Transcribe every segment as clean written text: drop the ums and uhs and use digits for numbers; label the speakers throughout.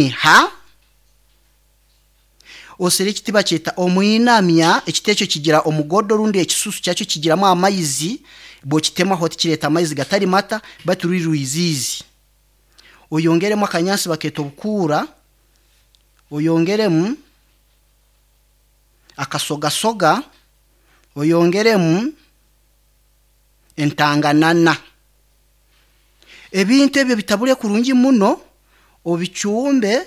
Speaker 1: Omumiiha, osere ekiti bakyeta omwinamya, ekiti ekyo kigira omugodo rundi ekisusu kyakyo kigiramu amaizi, bw'okitemaho tikireeta amaizi gatari mata baitu ruri rwiziizi. Oyongeremu akanyaatsi bakeeta obukuura, oyongeremu akasogasoga, oyongeremu entanganana. Ebintu ebyo obitabure kurungi muno, obicumbe,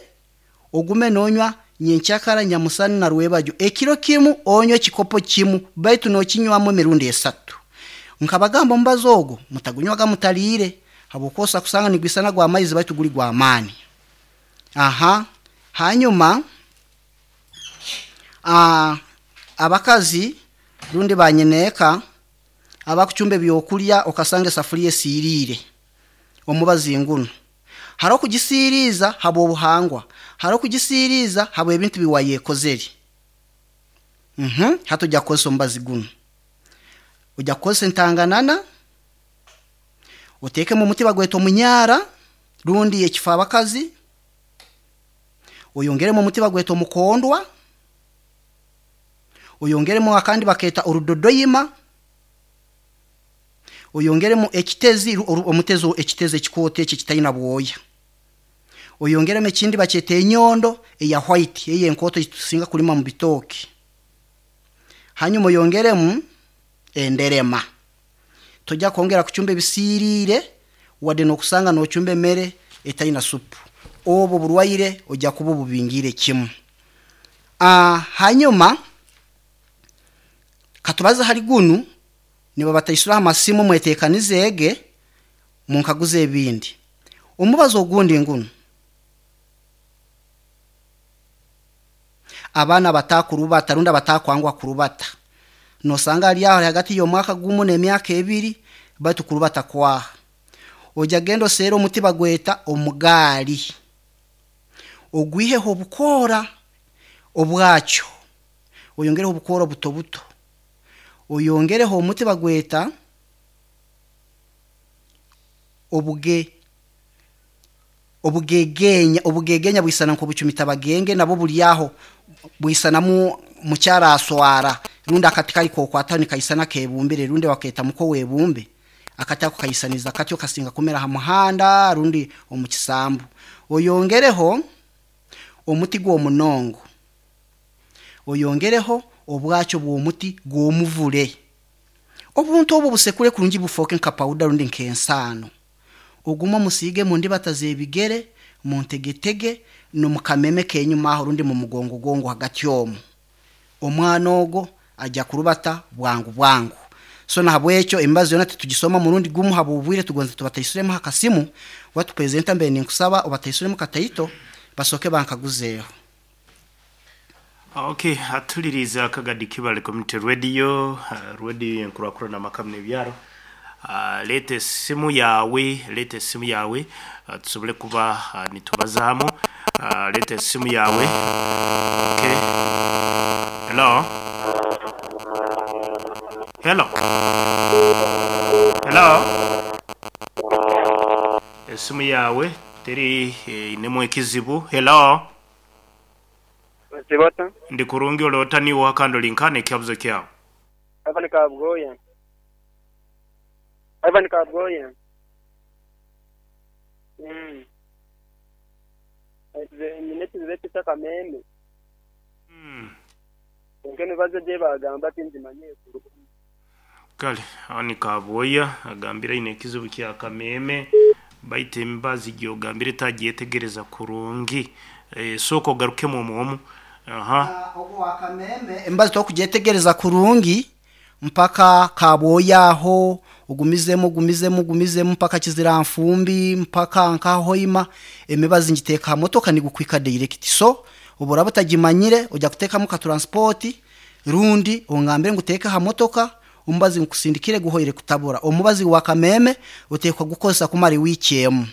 Speaker 1: ogume noonywa nyenkyakara, nyamusana na rwebagyo. Ekiro kimu onywe ekikopo kimu baitu nookinywamu emirundi esatu. Nkabagamba omubazi ogwo mutagunywaga mutariire habwokuba osobola kusanga nigwisana gw'amaizi baitu guri gw'amaani. Aha hanyuma abakazi rundi banyineeka abakucumba ebyokurya okasanga esafuriya esiiriire, omubazi ngunu. Hariho okugisiiriiza habw'obuhangwa, hariho okugisiiriiza habw'ebintu bi wayekozere. Hati oija kukozesa omubazi gunu. Oija kukozesa entanganana, oteekemu omuti bagweta omunyaara rundi ekifaabakazi, oyongeremu omuti bagweta omukondwa, oyongeremu akandi bakeeta orudodoima, oyongeremu ekitezi, omutezi ekitezi ekikooto eki ekitaina bwoya, oyongeremu ekindi bakyeta enyondo eya white eyo enkooto ei tusinga kulima mu bitooke, hanyuma oyongeremu enderema. Toija kwongera kucumba ebisiiriire wadde n'okusanga n'ocumba emere etaina supu. Obu oburwaire oija kuba obubingiire kimu. Hanyuma katubaze hali gunu, nibabataisura ha masimu mweteekanizeege munkaguze ebindi. Omubazi ogundi ngunu, abaana abatakurubata rundi abatakwanguha kurubata, nosanga ali aho ali hagati y'omwaka gumu n'emyaka ebiri baitu kurubata kwaha. Oija genda oseere omuti bagweta omugaali, ogwiheho obukoora obwakyo, oyongereho obukoora obuto buto, oyongereho omuti bagweta obuge Obugegeenya, Obugegeenya bwisana nk'obucumita bagenge nabwo buri aho bwisanamu mukyara aswara rundi akati kari k'okwataho nikaisana kebumbire rundi bakeeta muko webumbe akati ako kaisaniza katyo kasinga kumera aha muhanda rundi omu kisambu. Oyongereho omuti gw'omunongo, oyongereho obwakyo bw'omuti gw'omuvule. Obuntu obu obusekure kurungi bufooke nka pawuda rundi nk'ensaano. Ogume omusiige mu ndibata z'ebigere, mu ntegetege, n'omu kameme k'enyuma aho rundi mu mugongogongo hagati omu. Omwana ogwo aja kurubata bwangu bwangu. So nahabwekyo emibazi yoona titugisoma murundi gumu habw'obwire tugonza tubataisuremu ha kasimu. Watu presenter mbaire ninkusaba obataisuremu kataito basooke bankaguzeeho.
Speaker 2: Ok, atuliriize Akagadi Kibale Community Radio, radio y'enkurakurana amaka n'ebyaro. Leeta esimu yaawe, leeta esimu yaawe tusobole kuba nitubazaamu. Leeta esimu yaawe. Ok. Hello. Hello. Hello. Esimu yaawe teri einemu ekizibu. Hello.
Speaker 3: Osiiba ota?
Speaker 2: Ndi kurungi ole ota niiwe oha kandi ori nkaha n'ekihabuzo kyawe?
Speaker 3: Ivan Kabwoya. Ivan Kabwoya. Mm. Nyine ekizibu ekyo eky'akameeme. Kwonka emibazi egi ei baagamba tingimanyire kurungi.
Speaker 2: Kale aho ni Kabwoya agambire aine ekizibu kya kameeme baitu emibazi gyogambire tagyetegereza kurungi. Sooka ogarukemu omu omu. Aha.
Speaker 1: Ogu owa kameeme emibazi tokugyetegereza kurungi mpaka Kabwoya aho ogumizemu ogumizemu ogumizemu mpaka Kiziranfumbi mpaka nka Hoima emibazi ngiteeka aha motoka nigukuhika direct so obu oraba otagimanyire oja kuteekamu ka transport Rundi ongambire ngu teeka aha motoka omubazi ngukusindikire guhoire kutabura. Omubazi gwa kameeme oteekwa kugukozesa kumara ewiiki emu.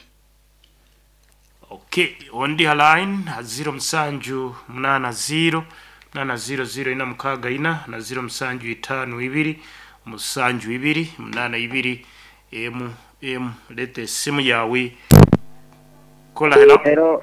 Speaker 2: Ok, ondi ha line ha ziiro musanju munaana ziiro munaana ziiro ziiro ina mukaaga ina na ziiro musanju itaano ibiri musanju ibiri munaana ibiri emu emu. Leeta esimu yaawe. Kola hello.
Speaker 3: Hello.